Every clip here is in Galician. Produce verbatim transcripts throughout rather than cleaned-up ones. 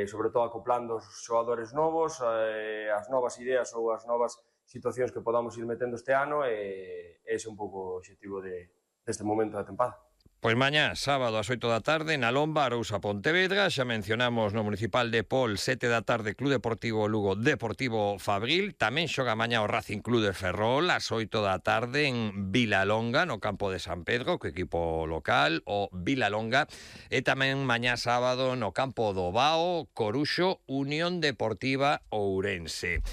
sobre todo acoplando os xogadores novos, eh, as novas ideas ou as novas situacións que podamos ir metendo este ano, e ese é un pouco o objetivo de, deste momento da tempada. Pois mañá, sábado, ás oito da tarde, na Lomba, Arousa, Pontevedra. Xa mencionamos no Municipal de Pol, sete da tarde, Club Deportivo Lugo, Deportivo Fabril. Tamén xoga mañá o Racing Club de Ferrol, ás oito da tarde, en Vilalonga, no campo de San Pedro, co equipo local, o Vilalonga. E tamén mañá sábado, no campo do Bao, Coruxo, Unión Deportiva Ourense.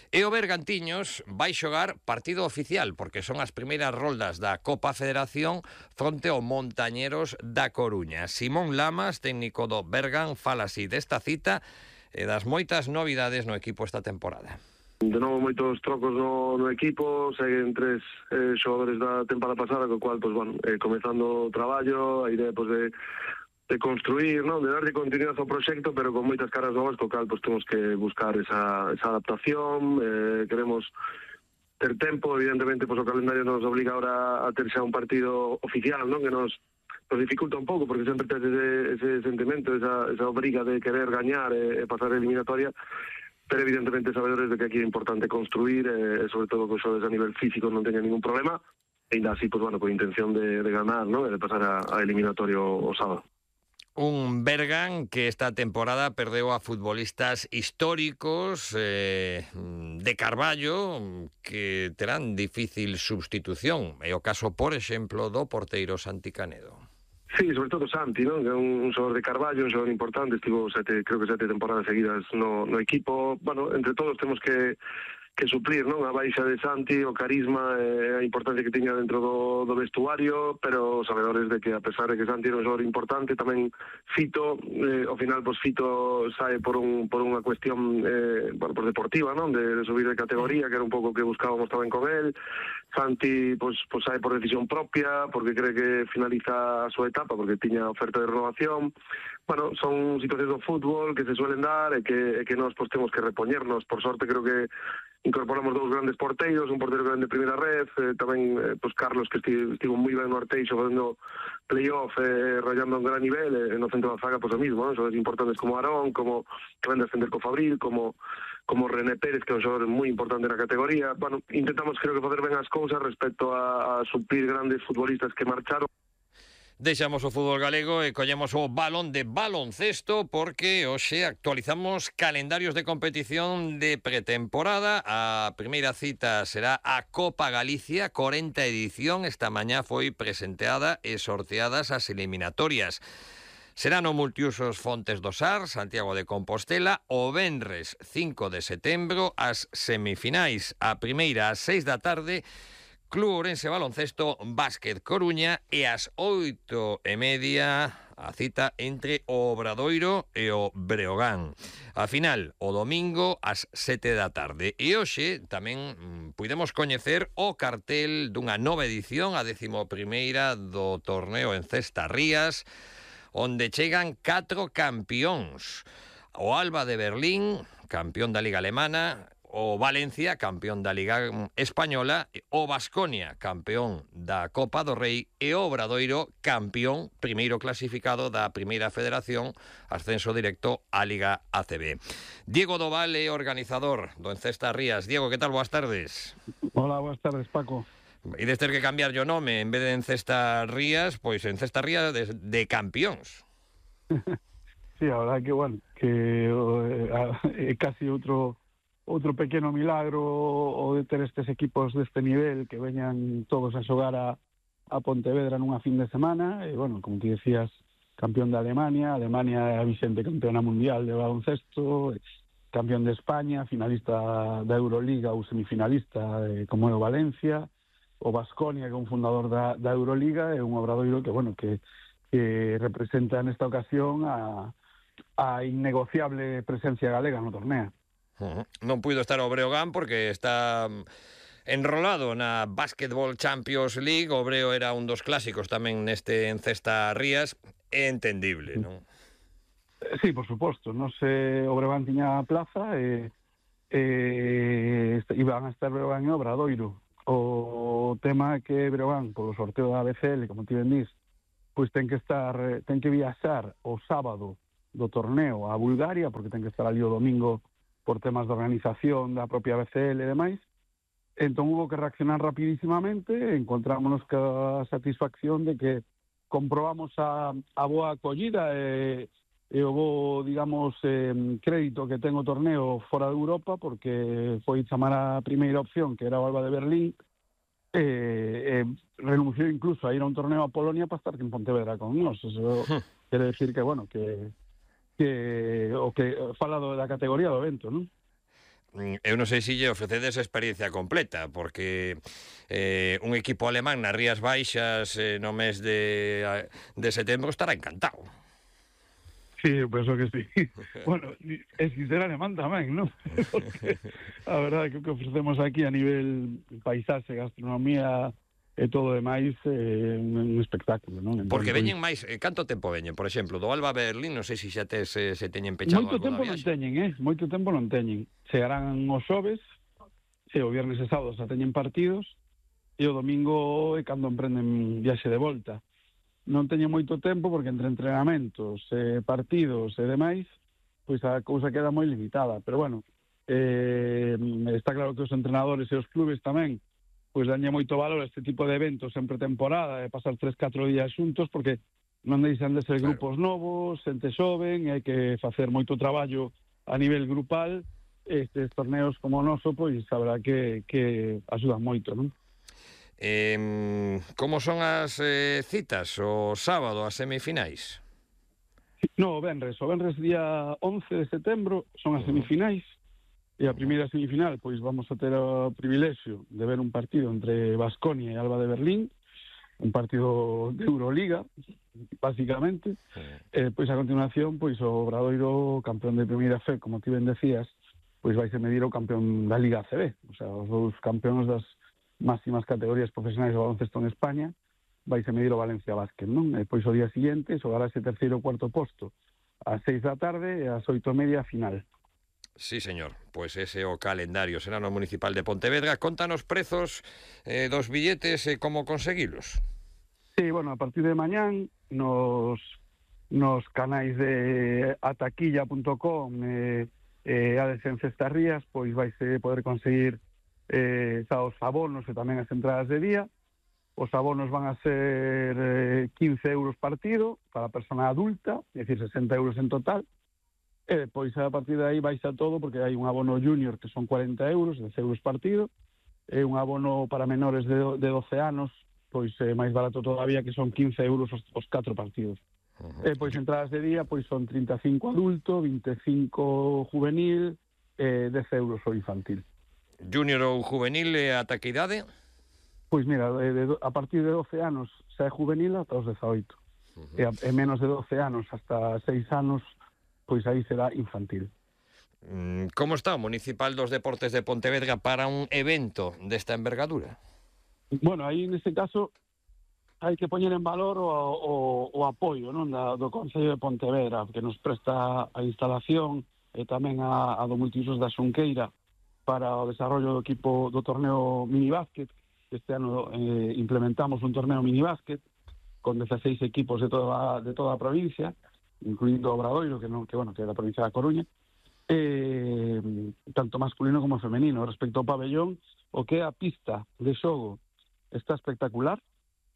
E o Bergantiños vai xogar partido oficial, porque son as primeiras roldas da Copa Federación fronte ao Montañeros da Coruña. Simón Lamas, técnico do Bergan, fala así desta cita e das moitas novidades no equipo esta temporada. De novo, moitos trocos no, no equipo, seguen tres eh, xogadores da temporada pasada, co cual, pues, bueno, eh, comezando o traballo, a idea, pues, de de construir, ¿no? De darle continuidade ao proxecto, pero con moitas caras novas, co cal pues, temos que buscar esa, esa adaptación, eh, queremos ter tempo, evidentemente pues, o calendario nos obliga ahora a ter xa un partido oficial, ¿no? Que nos, nos dificulta un pouco, porque sempre tes ese, ese sentimento, esa, esa obriga de querer gañar e, e pasar a eliminatoria, pero evidentemente sabedores de que aquí é importante construir, e eh, sobre todo que os xogadores a nivel físico non teñan ningún problema, e ainda así, pues, bueno, con intención de, de ganar, ¿no? E de pasar a, a eliminatorio o sábado. Un Bergan que esta temporada perdeu a futbolistas históricos eh, de Carballo que terán difícil substitución. É o caso, por exemplo, do porteiro Santi Canedo. Sí, sobre todo Santi, ¿no? Que é un, un xogador de Carballo, un xogador importante, estivo sete, creo que sete temporadas seguidas no, no equipo. Bueno, entre todos temos que que suplir, non? A baixa de Santi, o carisma e a importancia que tiña dentro do, do vestuario, pero sabedores de que a pesar de que Santi era un xogador importante, tamén Fito, eh, ao final, pues, Fito sae por un por unha cuestión eh, bueno, pues deportiva, non? De, de subir de categoría, que era un pouco que buscábamos tamén con él. Santi, pues, pues sae por decisión propia, porque cree que finaliza a súa etapa, porque tiña oferta de renovación. Bueno, son situacións do fútbol que se suelen dar e que, e que nós pues, temos que repoñernos. Por sorte, creo que incorporamos dous grandes porteiros, un porteiro grande de primeira red, eh, tamén eh, pues Carlos, que estivo, estivo moi ben no Arteixo facendo playoff, eh, rayando a un gran nivel, e eh, no centro da zaga, pues o mismo, ¿no? Xogadores importantes como Arón, como que van a defender co Fabril, como como René Pérez, que é un xogador moi importante na categoría. Bueno, intentamos, creo que, facer ben as cousas respecto a, a suplir grandes futbolistas que marcharon. Deixamos o fútbol galego e collemos o balón de baloncesto, porque hoxe actualizamos calendarios de competición de pretemporada. A primeira cita será a Copa Galicia, corenta edición. Esta mañá foi presenteada e sorteadas as eliminatorias. Será no multiusos Fontes do Sar, Santiago de Compostela, o venres cinco de setembro, as semifinais. A primeira ás seis da tarde, Club Ourense Baloncesto, Básquet Coruña, e ás oito e media a cita entre o Obradoiro e o Breogán. A final, o domingo, ás sete da tarde. E hoxe tamén mm, puidemos coñecer o cartel dunha nova edición, a décimo primeira do torneo en Cesta Rías, onde chegan catro campións. O Alba de Berlín, campeón da Liga Alemana, o Valencia, campeón da Liga Española, o Baskonia, campeón da Copa do Rei, e o Obradoiro, campeón, primeiro clasificado da Primeira Federación, ascenso directo á Liga A C B. Diego Doval é organizador do Encesta Rías. Diego, que tal? Boas tardes. Hola, boas tardes, Paco. E des ter que cambiar o nome, en vez de Encesta Rías, pois Encesta Rías de, de campións. Sí, a verdade que, bueno, que é eh, casi outro outro pequeno milagro o de ter estes equipos deste nivel que veñan todos a xogar a, a Pontevedra nunha fin de semana. E, bueno, como ti decías, campeón de Alemania, Alemania é a vixente campeona mundial de baloncesto, campeón de España, finalista da Euroliga ou semifinalista, eh, como é o Valencia, o Baskonia, que é un fundador da, da Euroliga, e un Obradoiro que, bueno, que, que representa nesta ocasión a, a innegociable presencia galega no torneo. Uh-huh. Non puido estar o Breogán porque está enrolado na Basketball Champions League. O Breo era un dos clásicos tamén neste Encesta Rías. É entendible, non? Sí, por suposto. Non se o Breogán tiña a plaza e, e iban a estar Breogán e Obradoiro. O tema é que Breogán, polo sorteo da A B C L, como ti ben dís, pois ten que estar, ten que viaxar o sábado do torneo a Bulgaria, porque ten que estar ali o domingo por temas de organización da propia B C L e demais. Entón hubo que reaccionar rapidísimamente, encontrámonos ca satisfacción de que comprobamos a, a boa acollida e, e o bo, digamos, eh, crédito que ten o torneo fora de Europa, porque foi chamar a primeira opción, que era o Alba de Berlín, e, e renunciou incluso a ir a un torneo a Polonia para estar en Pontevedra con nós. Eso quere decir que, bueno, que, que o que fala do, da categoría do evento, non? Eu non sei se lle ofrecedes a experiencia completa, porque eh, un equipo alemán nas Rías Baixas eh, no mes de, de setembro estará encantado. Sí, eu penso que sí. Bueno, e si ser alemán tamén, non? Porque a verdade que o que ofrecemos aquí a nivel paisaxe, gastronomía e todo demais é un espectáculo, non? Entón, Porque pois, veñen máis, eh, canto tempo veñen? Por exemplo, do Alba Berlín, non sei se xa tes, eh, se teñen pechado moito algo tempo da non viaxe. teñen, eh? Moito tempo non teñen. Chegarán os xoves, e o viernes e sábado xa teñen partidos, e o domingo é cando emprenden viaxe de volta. Non teñen moito tempo porque entre entrenamentos, eh, partidos e demais, pois a cousa queda moi limitada. Pero bueno, eh, está claro que os entrenadores e os clubes tamén pois danlle moito valor a este tipo de eventos en pretemporada, de pasar tres, catro días xuntos, porque non deixan de ser Claro. grupos novos, xente xoven, hai que facer moito traballo a nivel grupal. Estes torneos como o noso, pois, a verdad que, que axudan moito, non? Eh, como son as eh, citas? O sábado, as semifinais? No, o venres, o venres día once de setembro son as semifinais, e a primeira semifinal, pois vamos a ter o privilexio de ver un partido entre Baskonia e Alba de Berlín, un partido de Euroliga, básicamente. E, pois a continuación, pois o Obradoiro, campeón de primeira fe, como ti ben decías, pois vai se medir o campeón da Liga A C B, o sea, os dous campeóns das máximas categorías profesionais do baloncesto en España, vai se medir o Valencia Basket, non? E pois o día seguinte xogará ese terceiro ou cuarto posto ás seis da tarde e ás oito e media a final. Sí, señor. Pois ese o calendario será no Municipal de Pontevedra. Contanos prezos eh, dos billetes e eh, como conseguilos. Sí, bueno, a partir de mañán nos, nos canais de ataquilla punto com e eh, eh, Ades en Cestarrías, pois vaise poder conseguir eh, xa os abonos e tamén as entradas de día. Os abonos van a ser eh, quince euros partido para a persona adulta, é dicir, sesenta euros en total. E depois a partir de aí baixa todo, porque hai un abono junior que son cuarenta euros, dez euros partido, e un abono para menores de, de doce anos, pois é máis barato todavía, que son quince euros os, os catro partidos. Uh-huh. E pois entradas de día pois son trinta e cinco adulto, vinte e cinco juvenil e dez euros o infantil. Junior ou juvenil e ata que idade? Pois mira, de, de, a partir de doce anos xa é juvenil ata os dezaoito. Uh-huh. E, a, e menos de doce anos hasta seis anos, pois aí será infantil. Como está o Municipal dos Deportes de Pontevedra para un evento desta envergadura? Bueno, aí neste caso hai que poñer en valor o, o, o apoio, non, da, do Concello de Pontevedra, que nos presta a instalación e tamén a, a do multiusos da Xunqueira para o desarrollo do equipo do torneo minibásquet. Este ano eh, implementamos un torneo minibásquet con dieciséis equipos de toda, de toda a provincia, incluindo Obradoiro, que non, que bueno, que é da provincia da Coruña, eh, tanto masculino como femenino. Respecto ao pabellón, o que é a pista de xogo está espectacular,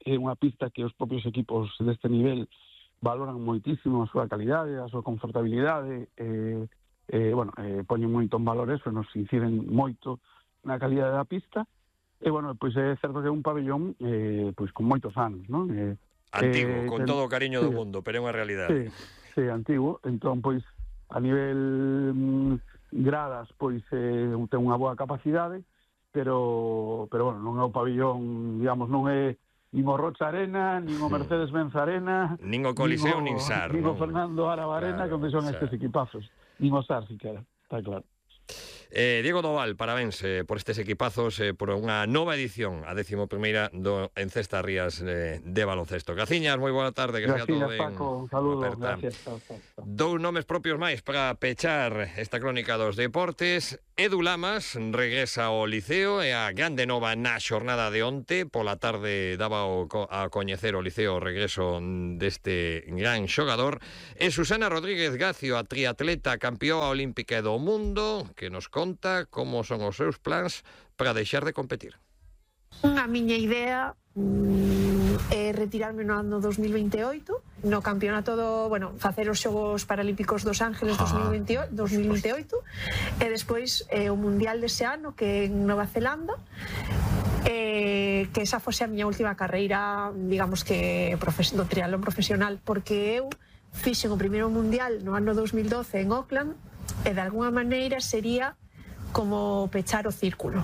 é unha pista que os propios equipos deste nivel valoran moitísimo a súa calidade, a súa confortabilidade, eh, eh, bueno, eh, poñen moito en valor eso, nos inciden moito na calidade da pista, e bueno, pois é certo que é un pabellón eh, pois con moitos anos, non? Eh, Antigo, eh, con ten... todo o cariño sí, do mundo, pero é unha realidade. Sí, sí, antigo. Entón, pois, a nivel mm, gradas, pois, eh, ten unha boa capacidade, pero, pero bueno, non é o pabillón, digamos, non é nin o Rocha Arena, nin o Mercedes-Benz Arena, nin o Coliseo, nin, o, nin SAR, nin o non? Fernando Araba Arena, claro, onde son estes equipazos, nin o SAR, siquera, está claro. Eh, Diego Doval, parabéns eh, por estes equipazos, eh, por unha nova edición, a décimo primeira do Encestarrías eh, de baloncesto. Gaciñas, moi boa tarde, que sea todo ben. Paco, un saludo, gracias. Chao, chao, chao. Dous nomes propios máis para pechar esta crónica dos deportes. Edu Lamas regresa ao Liceo e a grande nova na xornada de onte. Pola tarde daba a coñecer o Liceo o regreso deste gran xogador. E Susana Rodríguez Gacio, a triatleta campeoa olímpica do mundo, que nos conta como son os seus plans para deixar de competir. A miña idea mm, é retirarme no ano dos mil veintioito, no campeonato do, bueno, facer os Xogos Paralímpicos dos Ángeles dos mil veintioito e despois eh, o Mundial dese ano que é en Nova Zelanda, eh, que esa fose a miña última carreira, digamos que do triatlón profesional, porque eu fixen o primeiro Mundial no ano dos mil doce en Auckland e de alguna maneira sería como pechar o círculo.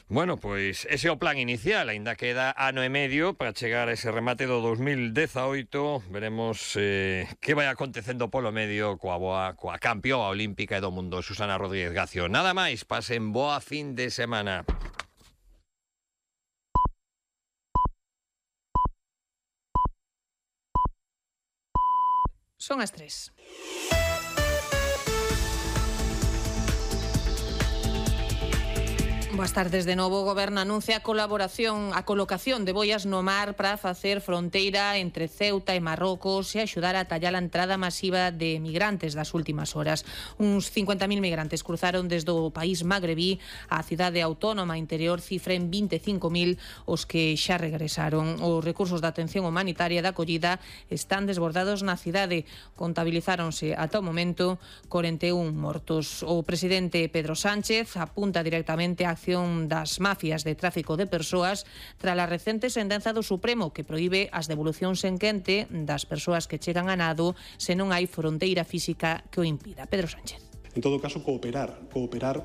Bueno, pois ese é o plan inicial, aínda queda ano e medio para chegar a ese remate do dos mil dezaoito. Veremos eh, que vai acontecendo polo medio coa boa, coa campeoa olímpica e do mundo, Susana Rodríguez Gacio. Nada máis, pasen boa fin de semana. Son as tres. Boas tardes de novo. O Goberno anuncia a colaboración, a colocación de boias no mar para facer fronteira entre Ceuta e Marrocos e axudar a tallar a entrada masiva de migrantes das últimas horas. Uns cincuenta mil migrantes cruzaron desde o país magrebí á cidade autónoma interior, cifra en vinte e cinco mil os que xa regresaron. Os recursos de atención humanitaria e de acollida están desbordados na cidade. Contabilizáronse ata o momento corenta e un mortos. O presidente Pedro Sánchez apunta directamente á das mafias de tráfico de persoas tras a recente sentenza do Supremo que proíbe as devolucións en quente das persoas que chegan a nado se non hai fronteira física que o impida. Pedro Sánchez. En todo caso, cooperar, cooperar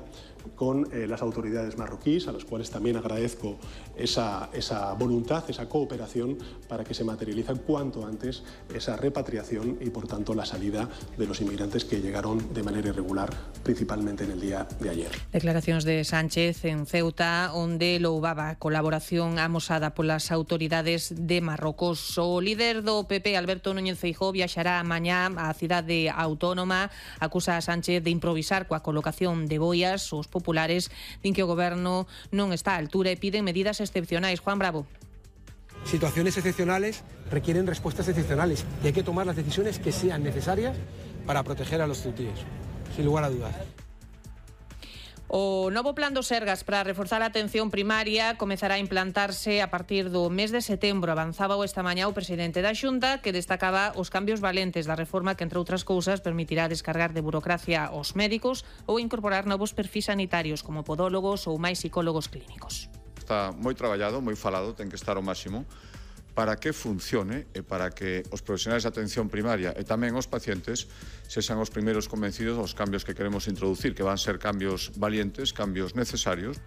con eh, las autoridades marroquíes, a las cuales también agradezco esa, esa voluntad, esa cooperación para que se materialice cuanto antes esa repatriación y, por tanto, la salida de los inmigrantes que llegaron de manera irregular, principalmente en el día de ayer. Declaracións de Sánchez en Ceuta, onde louvaba a colaboración amosada polas autoridades de Marrocos. O líder do P P, Alberto Núñez Feijóo, viaxará mañá á cidade autónoma. Acusa a Sánchez de improvisar coa colocación de boias. Os populares din que o Goberno non está á altura e piden medidas excepcionais. Juan Bravo. Situaciones excepcionales requieren respuestas excepcionales y hay que tomar las decisiones que sean necesarias para proteger a los ceutíes, sin lugar a dudas. O novo plan do Sergas para reforzar a atención primaria comezará a implantarse a partir do mes de setembro. Avanzaba esta mañá o presidente da Xunta, que destacaba os cambios valentes da reforma que, entre outras cousas, permitirá descargar de burocracia aos médicos ou incorporar novos perfis sanitarios como podólogos ou máis psicólogos clínicos. Está moi traballado, moi falado, ten que estar ao máximo para que funcione e para que os profesionais de atención primaria e tamén os pacientes sexan os primeiros convencidos dos cambios que queremos introducir, que van ser cambios valientes, cambios necesarios.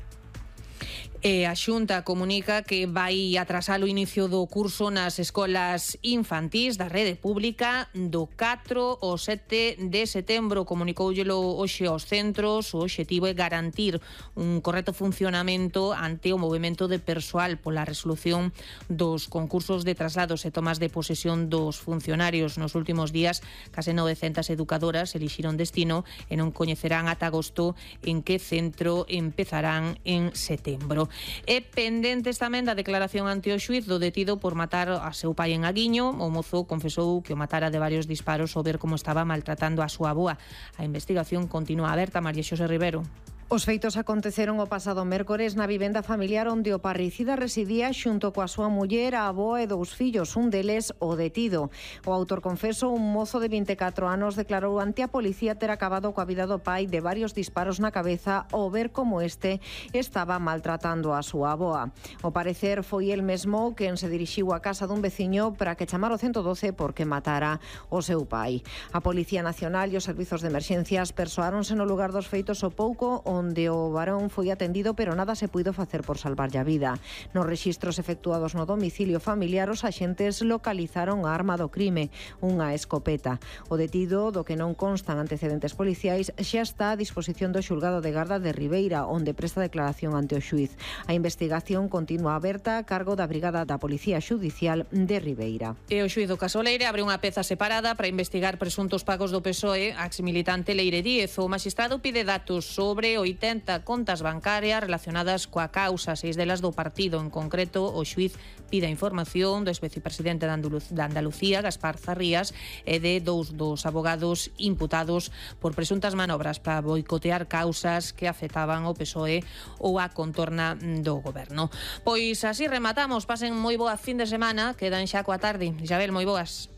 E a Xunta comunica que vai atrasar o inicio do curso nas escolas infantís da rede pública do catro ao sete de setembro. Comunicóullelo hoxe aos centros. O obxectivo é garantir un correcto funcionamento ante o movimento de persoal pola resolución dos concursos de traslados e tomas de posesión dos funcionarios. Nos últimos días, case novecentas educadoras elixiron destino e non coñecerán ata agosto en que centro empezarán en setembro. E pendentes tamén da declaración ante o xuíz do detido por matar a seu pai en Aguiño. O mozo confesou que o matara de varios disparos ao ver como estaba maltratando a súa avoa. A investigación continúa aberta. María Xosé Rivero. Os feitos aconteceron o pasado mércores na vivenda familiar onde o parricida residía xunto coa súa muller, a avoa e dous fillos, un deles o detido. O autor confeso, un mozo de vinte e catro anos, declarou ante a policía ter acabado coa vida do pai de varios disparos na cabeza ao ver como este estaba maltratando a súa avoa. O parecer foi el mesmo quen se dirixiu á casa dun veciño para que chamara o ciento doce porque matara o seu pai. A Policía Nacional e os servizos de emerxencias persoáronse no lugar dos feitos o pouco onde o varón foi atendido, pero nada se puido facer por salvarlle a vida. Nos rexistros efectuados no domicilio familiar, os axentes localizaron a arma do crime, unha escopeta. O detido, do que non constan antecedentes policiais, xa está a disposición do xulgado de garda de Ribeira, onde presta declaración ante o xuíz. A investigación continúa aberta a cargo da Brigada da Policía Xudicial de Ribeira. E o xuíz do caso Leire abre unha peza separada para investigar presuntos pagos do P S O E a exmilitante Leire Díez. O magistrado pide datos sobre o oitenta contas bancarias relacionadas coa causa, seis delas do partido. En concreto, o xuiz pide a información do exvicepresidente de Andalucía, Gaspar Zarrías, e de dous dos abogados imputados por presuntas manobras para boicotear causas que afectaban o P S O E ou a contorna do goberno. Pois así rematamos. Pasen moi boa fin de semana, quedan xa coa tarde. Isabel, moi boas.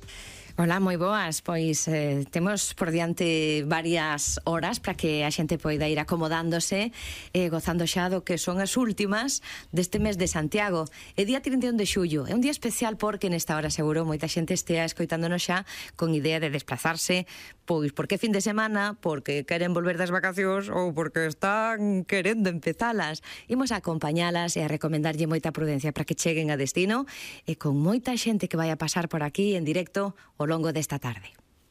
Hola, moi boas. Pois eh, temos por diante varias horas para que a xente poida ir acomodándose e eh, gozando xa do que son as últimas deste mes de Santiago. É día trinta e un de xullo. É un día especial porque nesta hora seguro moita xente estea escoitándonos xa con idea de desplazarse, pois porque fin de semana, porque queren volver das vacacións ou porque están querendo empezalas. Imos a acompañalas e a recomendarlle moita prudencia para que cheguen a destino e con moita xente que vai a pasar por aquí en directo o longo desta tarde.